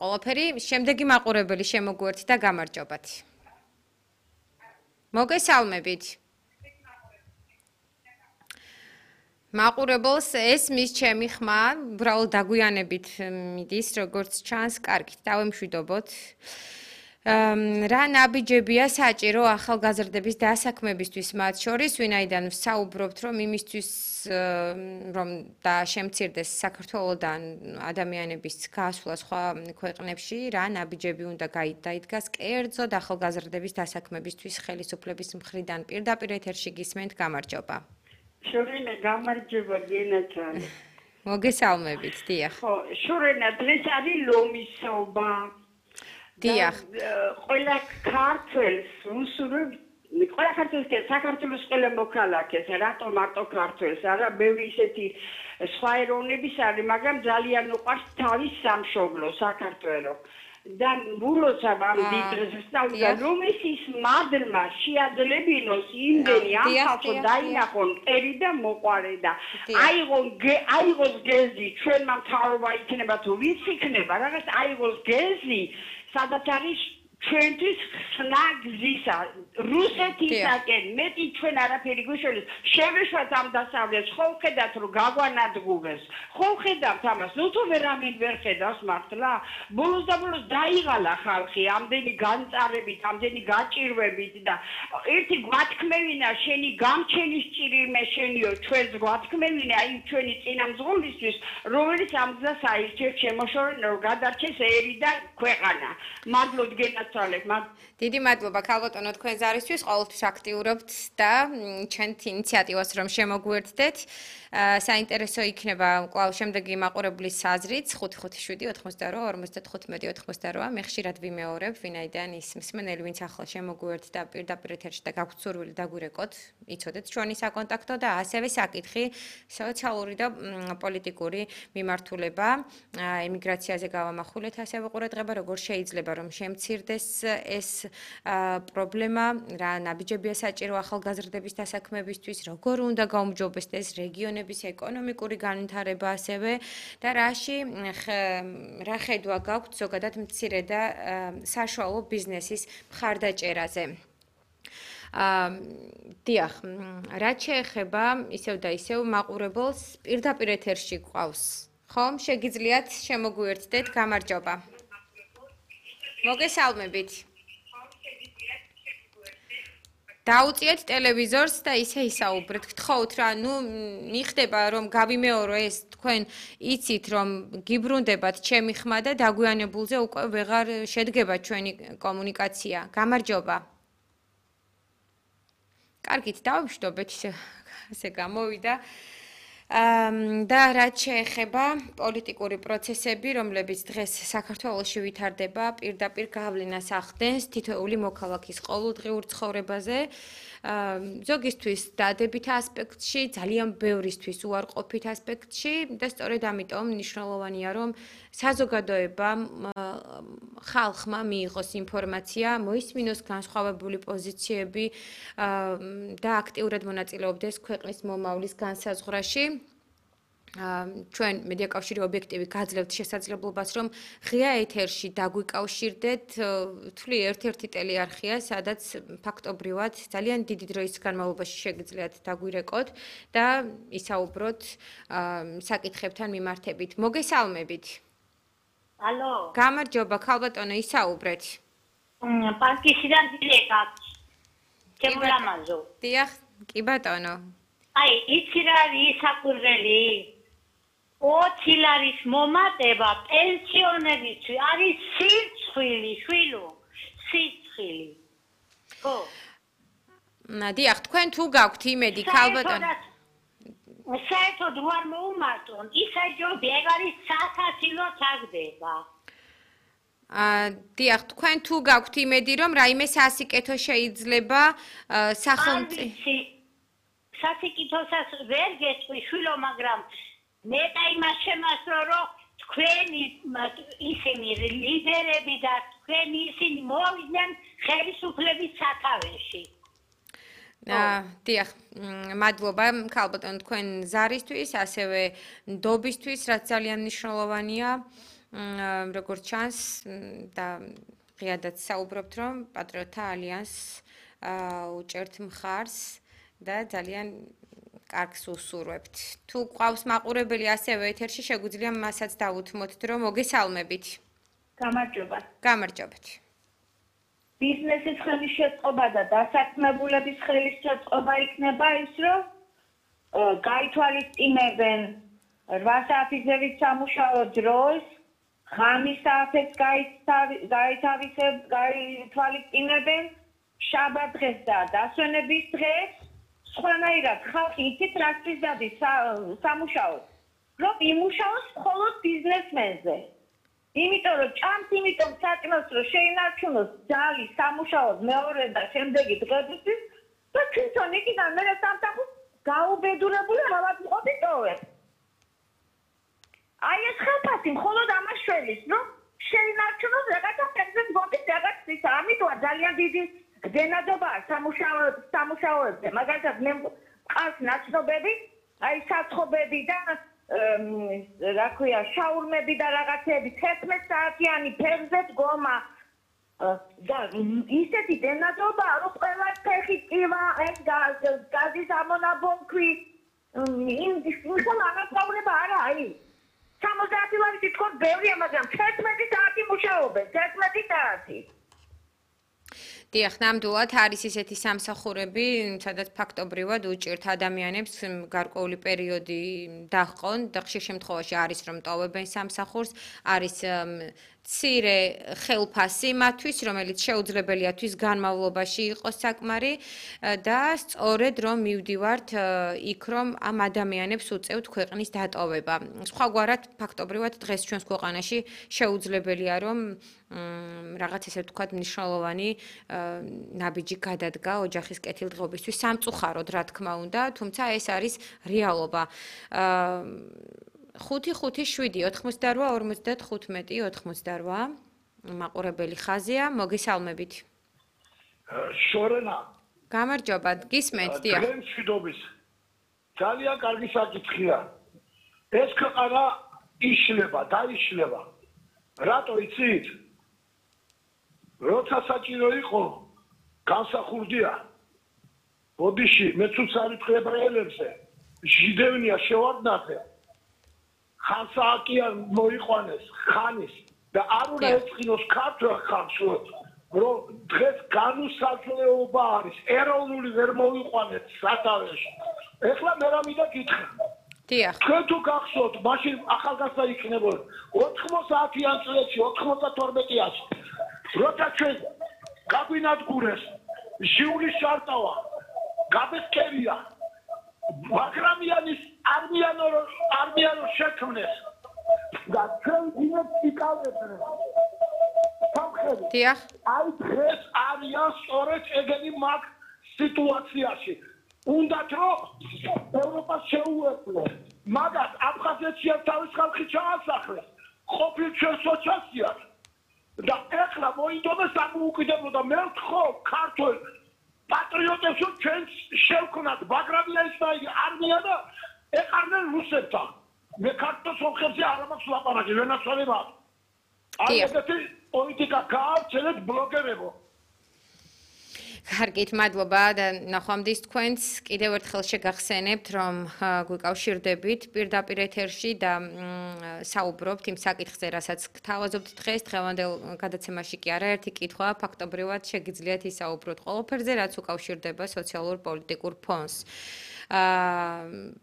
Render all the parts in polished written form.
ყველაფერი შემდეგი მაყურებელი შემოგვერთი და გამარჯობათ. მოგესალმებით. მაყურებელს ესმის ჩემი ხმა, უბრალოდ დაგვიანებით მიდის, როგორც ჩანს, კარგით, დავემშვიდობოთ. რა ნაბიჯებია საჭირო ახალგაზრდების დასაქმებისთვის მათ შორის, ვინაიდან ვსაუბრობთ, რომ იმისთვის, რომ და შემცირდეს საქართველოდან ადამიანების გასვლა სხვა ქვეყნებში, რა ნაბიჯები უნდა დაიდგას კერძოდ ახალგაზრდების დასაქმებისთვის ხელისუფლების მხრიდან. პირდაპირ ეთერში გისმენთ, გამარჯობა. შორენა გამარჯობა გენაცვალე. მოგესალმებით, დიახ. ხო, შორენა დღეს არის ლომისობა. დიახ. ყველა ქართველს უსურვებ, ყველა ქართველს და საქართველოს ყველა მოქალაქეს, რატო მარტო ქართველს, არა ბევრი ისეთი სხვა ეროვნების არის, მაგრამ ძალიან უყვარს თავის სამშობლო საქართველო. და ბულოცა ამ დიდრეს სწავლდა რომ ის მადლმა შეადლებინოს იმდენი ამ ხალხო დაინახონ ერი და მოყარე და აიღოს გეზი ჩვენმა მთავრობა იქნება თუ ვის იქნება რაღაც აიღოს გეზი სადაც არის ჩვენთვის ხსნა გზისა რუსეთისაკენ მეტი ჩვენ არაფერი გვიშველეს შევეშვათ ამ დასავლეთს ხო ხედავთ რომ გაგვანადგურეს ხო ხედავთ ამას ნუ თუ ვერავინ ვერ ხედავს მართლა ბოლოს და ბოლოს დაიღალა ხალხი ამდენი განწარებით ამდენი გაჭირვებით და ერთი გვათქმევინა შენი გამჩენის ჭირიმე შენიო ჩვენს გვათქმევინა აი ჩვენი წინამძღოლისთვის რომელიც ამ გზას აირჩევს შემოშორენ რომ გადარჩეს ერი და ქვეყანა მადლობთ გენაცვალეთ დიდი მადლობა ქალბატონო თქვენ ზარისთვის ყოველთვის აქტიურობთ და ჩვენთ ინიციატივას რომ შემოგვერთდეთ საინტერესო იქნება კვლავ შემდეგი მაყურებლის აზრით 557-88-58-88 მე ხშირად ვიმეორებ ვინაიდან ის მსმენელი ვინც ახლა შემოგვერთ და პირდაპირ ეთერში და გაგვცურვილი დაგვირეკოთ იცოდეთ ჩვენი საკონტაქტო და ასევე საკითხი სოციალური და პოლიტიკური მიმართულება ემიგრაციაზე გავამახვილეთ ასევე ყურადღება როგორ შეიძლება რომ შემცირდეს ეს პრობლემა რა ნაბიჯებია საჭირო ახალგაზრდების დასაქმებისთვის როგორ უნდა გაუმჯობესდეს რეგიონების ეკონომიკური განვითარება ასევე და რა ხედვა გაქვთ ზოგადად მცირე და საშუალო ბიზნესის მხარდაჭერაზე დიახ რაც შეეხება ისევ და ისევ მაყურებელს პირდაპირ ეთერში გვყავს ხომ შეგიძლიათ შემოგვიერთდეთ გამარჯობა მოგესალმებით დაუწიეთ ტელევიზორს და ისე ისაუბრეთ. გთხოვთ რა, ნუ მიხდება რომ გავიმეორო ეს თქვენ იცით რომ გიბრუნდებათ ჩემი ხმა და დაგვიანებულზე უკვე ვეღარ შედგება ჩვენი კომუნიკაცია. გამარჯობა. კარგით, დავიმშვიდობეთ ესე გამოვიდა. და რაც შეეხება პოლიტიკური პროცესები, რომლებიც დღეს საქართველოში ვითარდება, პირდაპირ გავლენას ახდენს თითოეული მოქალაქის ყოველდღიურ ცხოვრებაზე, ზოგისთვის დადებით ასპექტში, ძალიან ბევრისთვის უარყოფით ასპექტში და სწორედ ამიტომ მნიშვნელოვანია, რომ საზოგადოებამ ხალხმა მიიღოს ინფორმაცია, მოისმინოს განსხვავებული პოზიციები და აქტიურად მონაწილეობდეს ქვეყნის მომავლის განსაზღვრაში. ჩვენ მედიაკავშირი ობიექტივი გაძლევთ შესაძლებლობას რომ ღია ეთერში დაგვიკავშირდეთ თვლი ერთ-ერთი ტელეარხია სადაც ფაქტობრივად ძალიან დიდი დროის განმავლობაში შეგიძლიათ დაგვირეკოთ და ისაუბროთ საკითხებთან მიმართებით მოგესალმებით ალო გამარჯობა ქალბატონო ისაუბრეთ პარკისიდან დირექტ შემოლამაზო დიახ კი ბატონო აი იცი რა ისაკურველი 20 ლარის მომატება პენსიონერისთვის არის სიცხილი, შვილო, სიცხილი. ხო. დიახ, თქვენ თუ გაქვთ იმედი, ქალბატონო. საერთოდ ვარ მოუმარტონ, ისე ჯობი ეგ არის სასაცილო ჩაგდება. დიახ, თქვენ თუ გაქვთ იმედი, რომ რაიმე სასიკეთო შეიძლება სახელმწიფო სასიკეთოსაც ვერ გეტყვი, შვილო, მაგრამ მეტა იმას შემასწრო რომ თქვენი ისინი ლიდერები და თქვენი ისინი მოვიდნენ ხელისუფლების სათავეში. დიახ, მადლობა ქალბატონო თქვენ ზარისთვის, ასევე ნდობისთვის, რაც ძალიან მნიშვნელოვანია. როგორც ჩანს და ღიადაც საუბრობთ, რომ პატრიოტთა ალიანს უჭერთ მხარს და ძალიან კარგს უსურვებთ. თუ ყავს მაყურებელი ასევე ეთერში, შეგვიძლია მასაც დავუთმოთ, რომ მოგესალმებით. გამარჯობა. გამარჯობთ. ბიზნესის ხელის შეწყობა და დასაქმებულების ხელის შეწყობა იქნება ის, რომ გაითვალისწინებენ 8 საათისევით სამუშაო დროს, ღამის საათებს გაითვალისწინებენ, შაბათ დღეს და დასვენების დღეს, სხვანაირად ხალხი იცით რასთვის დადის სამუშაოდ, რომ იმუშაოს მხოლოდ ბიზნესმენზე. იმიტომ რომ ჭამს, იმიტომ საჭმელს რომ შეინარჩუნოს ძალი სამუშაოდ მეორე და შემდეგი დღებისთვის და თვითონ იქიდან მე სამსახურს გაუბედურებული რაღაც მყოფი ტოვებს. აი ეს ხალხი მხოლოდ ამას შველის, რომ შეინარჩუნოს რაღაცა ფერზე მყოფი რაღაც ის, ამიტომ ძალიან დიდი გდენადობაა სამუშაოებზე. მაგალითად მე მყავს ნაცნობები, აი საცხობები და რა ქვია, შაურმები და რაღაცები 11 საათიანი ფერზე დგომა და ისეთი დენადობაა, რომ ყველა ფეხი წივა, ეს გაზის ამონაბონქვი, იმ ანაწავლება არა არის. 70 ლარი თვითონ ბევრია, მაგრამ 11 საათი მუშაობენ, 11 საათი. დიახ, ნამდვილად არის ისეთი სამსახურები, სადაც ფაქტობრივად უჭირთ ადამიანებს გარკვეული პერიოდი დაჰყონ და ხშირ შემთხვევაში არის რომ ტოვებენ სამსახურს, არის მცირე ხელფასი მათთვის, რომელიც შეუძლებელია თვის განმავლობაში იყოს საკმარი და სწორედ რომ მივდივართ იქ რომ ამ ადამიანებს უწევთ ქვეყნის დატოვება. სხვაგვარად ფაქტობრივად დღეს ჩვენს ქვეყანაში შეუძლებელია რომ რაღაც ესე ვთქვათ მნიშვნელოვანი ნაბიჯი გადადგა ოჯახის კეთილდღეობისთვის სამწუხაროდ რა თქმა უნდა, თუმცა ეს არის რეალობა. 5-5-7-98-55 მაყურებელი ხაზია, მოგესალმებით. შორენა. გამარჯობა, გისმენთ, დიახ. დღეს მშვიდობის. ძალიან კარგი საკითხია. ეს ქვეყანა იშლება, დაიშლება. რატო იცით? როცა საჭირო იყო, განსახურდია. ბოდიში, მეც უცარი ებრაელებზე. ჟიდევნია შევარდნათე. ხანსააკია მოიყვანეს ხანის და არ უნდა ეწყინოს ქართულ ხალხს, რომ დღეს განუსაზღვრეობა არის, ეროვნული ვერ მოიყვანეთ სათავეში. ეხლა მე რამიდა გითხრა. დიახ. თქვენ თუ გახსოვთ, მაშინ ახალგაზრდა იქნებოდა 90-იან წლებში, 92-იაში. როცა ჩვენ გაგვინადგურეს, ჟიულის შარტავა, გაბესკერია, ბაგრამიანის არმიანო შექმნეს და ჩვენ დინებს იკავებდნენ. სამხედრო. დიახ. აი დღეს არიან სწორედ ეგენი მაგ სიტუაციაში. უნდათ რომ ევროპას შეუერთდნენ. მაგათ აფხაზეთში თავის ხალხი ჩაასახლეს. ყოფილ ჩვენ სოციალისტად და ეხლა მოინდომეს ამოუკიდებლო და მე ვთხოვ ქართულ პატრიოტებს რომ ჩვენ შევქნათ ბაგრამიანის არმია და ეყარნენ რუსებთან. მე ქართულ სომხებზე არ მაქვს ლაპარაკი, ვენაცვალე მაქვს. აი ესეთი პოლიტიკა გაავრცელეთ ბლოგერებო. კარგით, მადლობა და ნახვამდის თქვენს. კიდევ ერთხელ შეგახსენებთ, რომ გვიკავშირდებით პირდაპირ ეთერში და საუბრობთ იმ საკითხზე, რასაც გთავაზობთ დღეს. დღევანდელ გადაცემაში კი არაერთი კითხვა, ფაქტობრივად შეგიძლიათ ისაუბროთ ყველაფერზე, რაც უკავშირდება სოციალურ-პოლიტიკურ ფონს.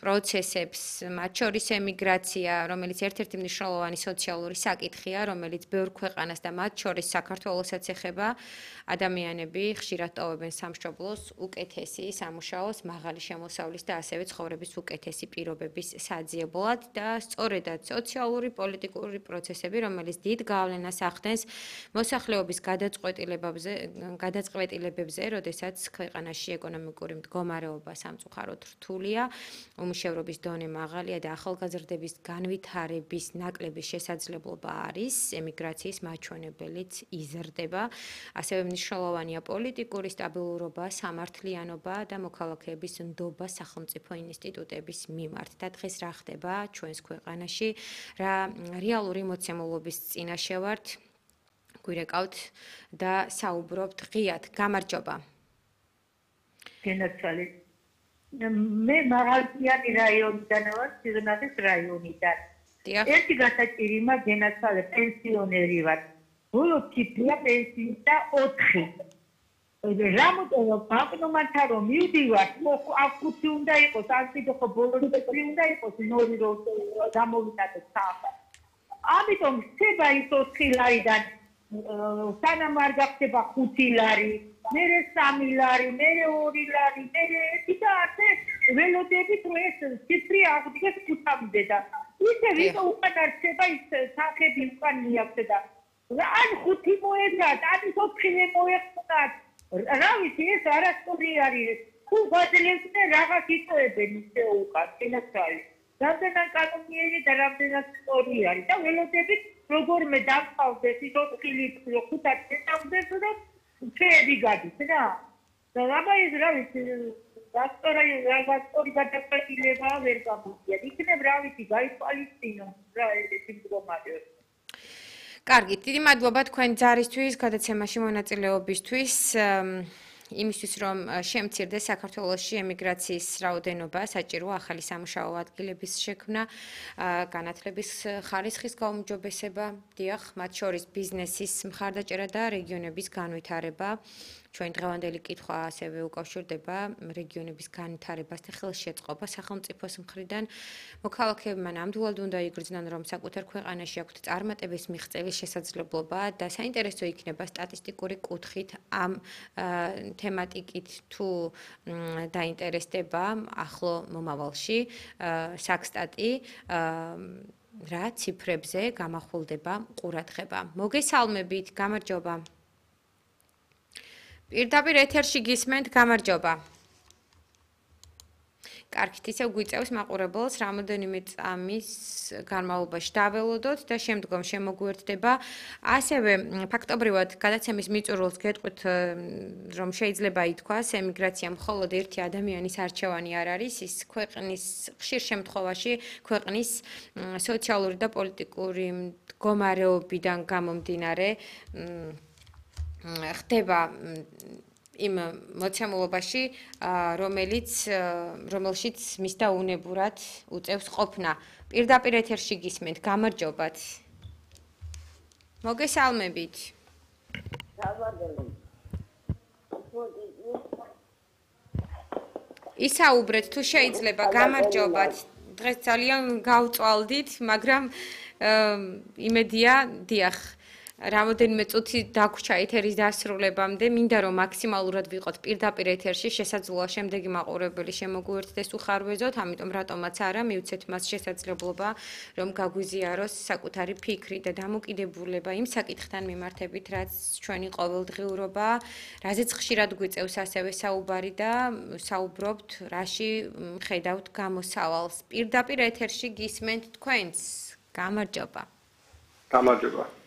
პროცესებს, მათ შორის ემიგრაცია, რომელიც ერთ-ერთი მნიშვნელოვანი სოციალური საკითხია, რომელიც ბევრ ქვეყანას და მათ შორის საქართველოსაც ეხება, ადამიანები ხშირად ტოვებენ სამშობლოს უკეთესი სამუშაოს, მაღალი შემოსავლის და ასევე ცხოვრების უკეთესი პირობების საძიებლად და სწორედაც სოციალური პოლიტიკური პროცესები, რომელიც დიდ გავლენას ახდენს მოსახლეობის გადაწყვეტილებებზე, როდესაც ქვეყანაში ეკონომიკური მდგომარეობა სამწუხაროდ რთულია, უმუშევრობის დონე მაღალია და ახალგაზრდების განვითარების ნაკლები შესაძლებლობა არის, ემიგრაციის მაჩვენებელიც იზრდება. ასევე მნიშვნელოვანია პოლიტიკური სტაბილურობა, სამართლიანობა და მოქალაქეების ნდობა სახელმწიფო ინსტიტუტების მიმართ. და დღეს რა ხდება ჩვენს ქვეყანაში, რა რეალური მოცემულობის წინაშე ვართ, გვირეკავთ და საუბრობთ ღიად. გამარჯობა. გენაცვალე. მე მაღალწიანი რაიონიდან ვარ, სიღნაღის რაიონიდან. ერთი გასაჭირი მაქვს გენაცვალე, პენსიონერი ვარ. ბოლო ციფრია პენსიის და 4. რამოდენო ბანკნომატთან რომ მივდივარ, აქ 5 უნდა იყოს, ასეთი ხო ბოლო ციფრი უნდა იყოს, 0 რომ გამოვიტანოთ საათად. ამიტომ ხდება ის 4 ლარიდან სანამ არ გახდება 5 ლარი, მერე 3 ლარი, მერე 2 ლარი, მერე 1 და ასე ველოდებით რომ ეს ციფრი აღდგეს 5-მდე და ისე ვიდრე უკან არ ხდება ის სახები უკან მიაქცია და ან 5 მოედათ, ან 4 მოეხმათ. რა ვიცი, ეს არასწორი არის. თუ გაძლევს და რაღაც იწევენ ისე უკან, გენაცვალე. რამდენად კანონიერი და რამდენად სწორი არის და ველოდებით როგორმე დავყავდეს ის 4 ლიტრი 5 წელს და ფეები გადის რა. და რაბა ის რა ვიცი, გასწორი გადაწყვეტილება ვერ გამოდია. იქნებ რა ვიცი, გაითვალისწინო რა ეს მდგომარეობა. კარგი, დიდი მადლობა თქვენ ჯარისთვის, გადაცემაში მონაწილეობისთვის. იმისთვის რომ შემცირდეს საქართველოში ემიგრაციის რაოდენობა, საჭიროა ახალი სამუშაო ადგილების შექმნა, განათლების ხარისხის გაუმჯობესება, დიახ, მათ შორის ბიზნესის მხარდაჭერა და რეგიონების განვითარება. ჩვენ დღევანდელი კითხვა ასევე უკავშირდება რეგიონების განვითარებასთან ხელშეწყობა სახელმწიფოს მხრიდან. მოქალაქეებმა ნამდვილად უნდა იგრძნონ, რომ საკუთარ ქვეყანაში აქვთ წარმატების მიღწევის შესაძლებლობა და საინტერესო იქნება სტატისტიკური კუთხით ამ თემატიკით თუ დაინტერესდება ახლო მომავალში საქსტატი რა ციფრებზე გამახვილდება ყურადღება. მოგესალმებით, გამარჯობა. პირდაპირ ეთერში გისმენთ, გამარჯობა. კარგით, ისევ გვიწევს მაყურებელს რამოდენიმე წამის განმავლობაში დაველოდოთ და შემდგომ შემოგვერდება. ასევე ფაქტობრივად გადაცემის მიწურულს გეტყვით, რომ შეიძლება ითქვას, ემიგრაცია მხოლოდ ერთი ადამიანის არჩევანი არ არის, ის ქვეყნის ხშირ შემთხვევაში ქვეყნის სოციალური და პოლიტიკური მდგომარეობიდან გამომდინარე ხდება იმ მოცემულობაში, რომელშიც მის და უნებურად უწევს ყოფნა. პირდაპირ ეთერში გისმენთ, გამარჯობათ. მოგესალმებით. ისაუბრეთ თუ შეიძლება, გამარჯობათ. დღეს ძალიან გავწვალდით, მაგრამ იმედია, დიახ. რამოდენიმე წუთი დაგვრჩა ეთერის დასრულებამდე, მინდა რომ მაქსიმალურად ვიყოთ პირდაპირ ეთერში, შესაძლოა შემდეგი მაყურებელი შემოგვიერთდეს უხარვეზოთ, ამიტომ რატომაც არა, მივცეთ მას შესაძლებლობა, რომ გაგვიზიაროს საკუთარი ფიქრი და დამოკიდებულება იმ საკითხთან მიმართებით, რაც ჩვენი ყოველდღიურობაა, რაზეც ხშირად გვიწევს ასევე საუბარი და საუბრობთ, რაში ხედავთ გამოსავალს. პირდაპირ ეთერში გისმენთ თქვენს. გამარჯობა. გამარჯობა.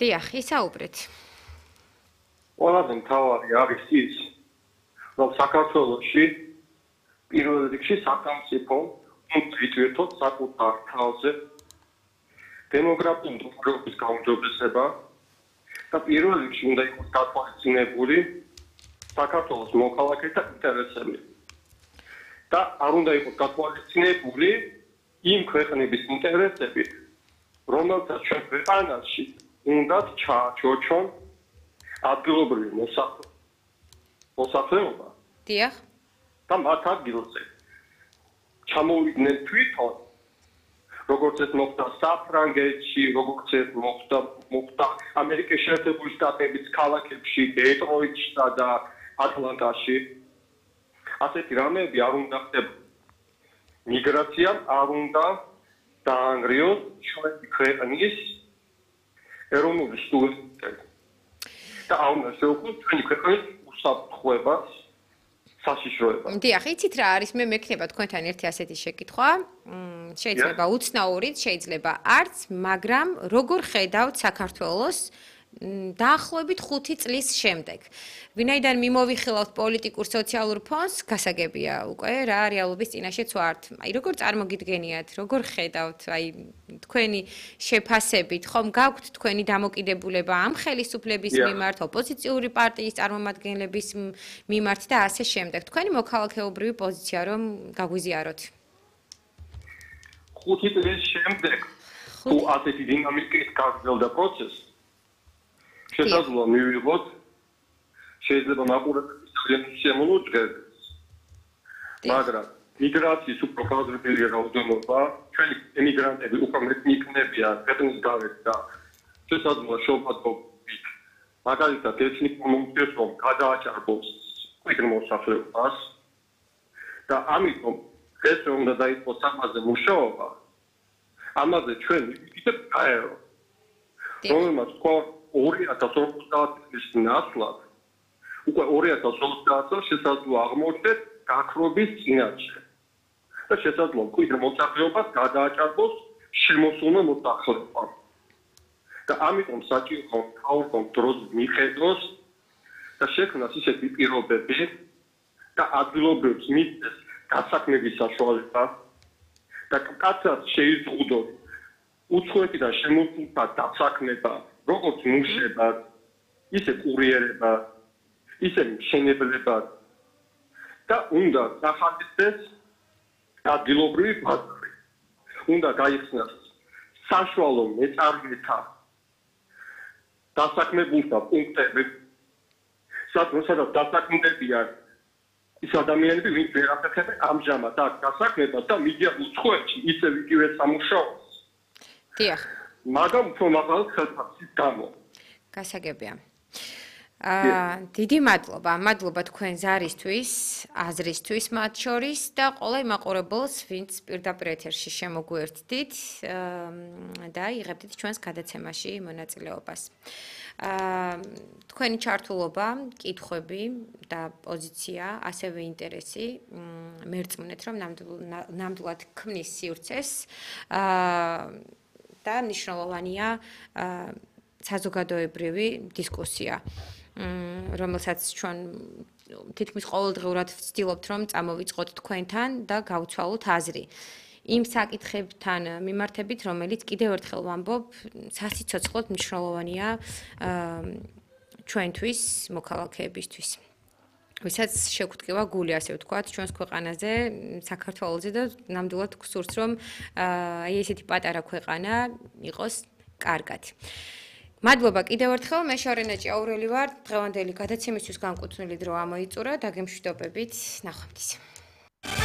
დიახ, ისაუბრეთ. ყველაზე მთავარი არის ის, რომ საქართველოში პირველ რიგში სახელმწიფო უნდა იტვირთოს საკუთარ თავზე დემოგრაფიული მდგომარეობის გაუმჯობესება და პირველ რიგში უნდა იყოს გათვალისწინებული საქართველოს მოქალაქეთა ინტერესები. და არ უნდა იყოს გათვალისწინებული იმ ქვეყნების ინტერესები, რომელთაც ჩვენ ქვეყანაში უნდა ჩააჩოჩონ ადგილობრივი მოსახლეობა. დიახ. და მათ ადგილზე ჩამოვიდნენ თვითონ, როგორც ეს მოხდა საფრანგეთში, როგორც ეს მოხდა ამერიკის შეერთებული შტატების ქალაქებში, დეტროიტში და ატლანტაში. ასეთი რამეები არ უნდა ხდება. მიგრაციამ არ უნდა დაანგრიოს ჩვენი ქვეყნის ეროვნული სუვერენიტეტი და არ უნდა შეუქმნას ჩვენი ქვეყნის უსაფრთხოებას საშიშროება. დიახ, იცით რა არის, მე მექნება თქვენთან ერთი ასეთი შეკითხვა. შეიძლება უცნაურიც, შეიძლება არც, მაგრამ როგორ ხედავთ საქართველოს დაახლოებით 5 წლის შემდეგ. ვინაიდან მიმოვიხილავთ პოლიტიკურ სოციალურ ფონს, გასაგებია უკვე რა რეალობის წინაშეც ვართ. აი როგორ წარმოგიდგენიათ, როგორ ხედავთ, აი თქვენი შეფასებით, ხომ გაქვთ თქვენი დამოკიდებულება ამ ხელისუფლების მიმართ, ოპოზიციური პარტიის წარმომადგენლების მიმართ და ასე შემდეგ. თქვენი მოქალაქეობრივი პოზიცია რომ გაგვიზიაროთ. 5 წლის შემდეგ თუ ასეთი დინამიკით გაგრძელდა პროცესი შესაძლოა მივიღოთ შეიძლება მაყურებლების ძალიან შემოუწყდეს მაგრამ მიგრაციის უფრო გააზრდილი რაოდენობა ჩვენი ემიგრანტები უფრო მეტი იქნებიან ქვეყნის გარეთ და შესაძლოა შობადობით მაგალითად ეთნიკურ უმცირესობამ გადააჭარბოს ქვეყნის მოსახლეობას და ამიტომ ეს უნდა დაიწყოს ამაზე მუშაობა ამაზე ჩვენ ვიქით გაერო რომელმაც თქვა 2050 წლის ნაცვლად უკვე 2050 წელს შესაძლოა აღმოჩნდეს გაქრობის წინაშე და შესაძლოა ქვეყნის მოსახლეობას გადააჭარბოს შემოსულმა მოსახლეობამ და ამიტომ საჭიროა თავრობამ დროს მიხედოს და შექმნას ისეთი პირობები და ადგილობრივს მისცეს გასაქმების საშუალება და კაცად შეიზღუდოს უცხოეთიდან შემოსულთა დასაქმება როგორც მუშებად, ისე კურიერებად, ისე მშენებლებად და უნდა დახარჯდეს ადგილობრივი ბაზარი. უნდა გაიხსნას საშუალო მეწარმეთა დასაქმებულთა პუნქტები, სადაც დასაქმდებიან ის ადამიანები, ვინც ვერ აფეთქებენ ამჟამად აქ დასაქმებას და მიდიან უცხოეთში ისევ იგივე სამუშაოს. დიახ. მაგრამ უფრო მაღალ ხელფასის გამო. გასაგებია. დიდი მადლობა. მადლობა თქვენ ზარისთვის, აზრისთვის მათ შორის და ყველა იმაყურებელს, ვინც პირდაპირ ეთერში შემოგვერთდით და იღებდით ჩვენს გადაცემაში მონაწილეობას. თქვენი ჩართულობა, კითხვები და პოზიცია, ასევე ინტერესი მერწმუნეთ, რომ ნამდვილად ქმნის სივრცეს და მნიშვნელოვანია საზოგადოებრივი დისკუსია, რომელსაც ჩვენ თითქმის ყოველდღიურად ვცდილობთ, რომ წამოვიწყოთ თქვენთან და გავცვალოთ აზრი. იმ საკითხებთან მიმართებით, რომელიც კიდევ ერთხელ ვამბობ, სასიცოცხლოდ მნიშვნელოვანია ჩვენთვის, მოქალაქეებისთვის. ვისაც შეგვტკივა გული, ასე ვთქვათ, ჩვენს ქვეყანაზე, საქართველოზე და ნამდვილად გსურს, რომ აი ესეთი პატარა ქვეყანა იყოს კარგად. მადლობა კიდევ ერთხელ, მე შორენა ჭიაურელი ვარ. დღევანდელი გადაცემისთვის განკუთვნილი დრო ამოიწურა და გემშვიდობებით ნახვამდის.